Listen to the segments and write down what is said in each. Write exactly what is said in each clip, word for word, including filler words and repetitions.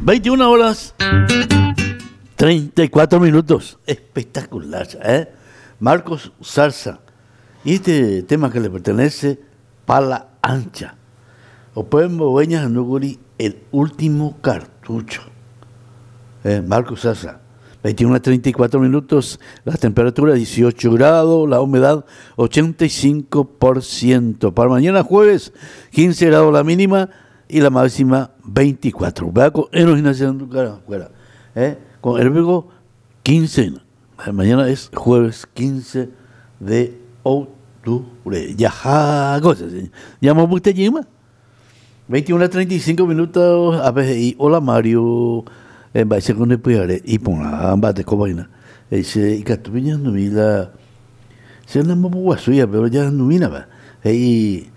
veintiuna horas treinta y cuatro minutos. Espectacular, ¿eh? Marcos Zarza. Y este tema que le pertenece, Pala Ancha. O pueden el último cartucho. Eh, Marcos Zarza. veintiuno a treinta y cuatro minutos, la temperatura dieciocho grados, la humedad ochenta y cinco por ciento. Para mañana jueves, quince grados la mínima y la máxima veinticuatro. Vea con ¿eh? Con el quince. Mañana es jueves quince de octubre. Ya, cosas. Llamo usted, veintiuno a treinta y cinco minutos. A ver, y hola, Mario. Mba'éicha ko ndepyhare iporã mba'ete ko vaina he'ise ikatúpe ñahendumi la che nambopoguasúi pero jahendumínapa he'i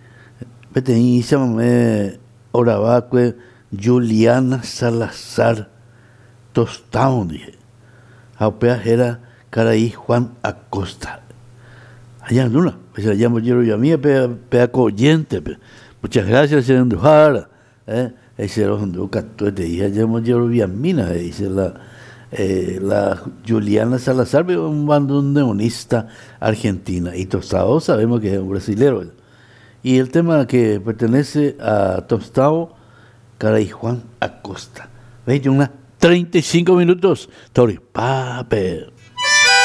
peteĩ chamame oravakue Juliana Salazar Tostão ndive ha upéva héra karai Juan Acosta ha ñahendúna péicha jambojeroviami péa ko oyente-pe. Muchas gracias, che renduhára, eh he'ise rohendu katuetei ha jambojeroviamína he'ise la eh, la Juliana Salazar, un bandoneonista argentina, y Tostão sabemos que es un brasilero. Y el tema que pertenece a Tostão, Caray Juan Acosta. veintiuno treinta y cinco minutos. Tori, pape.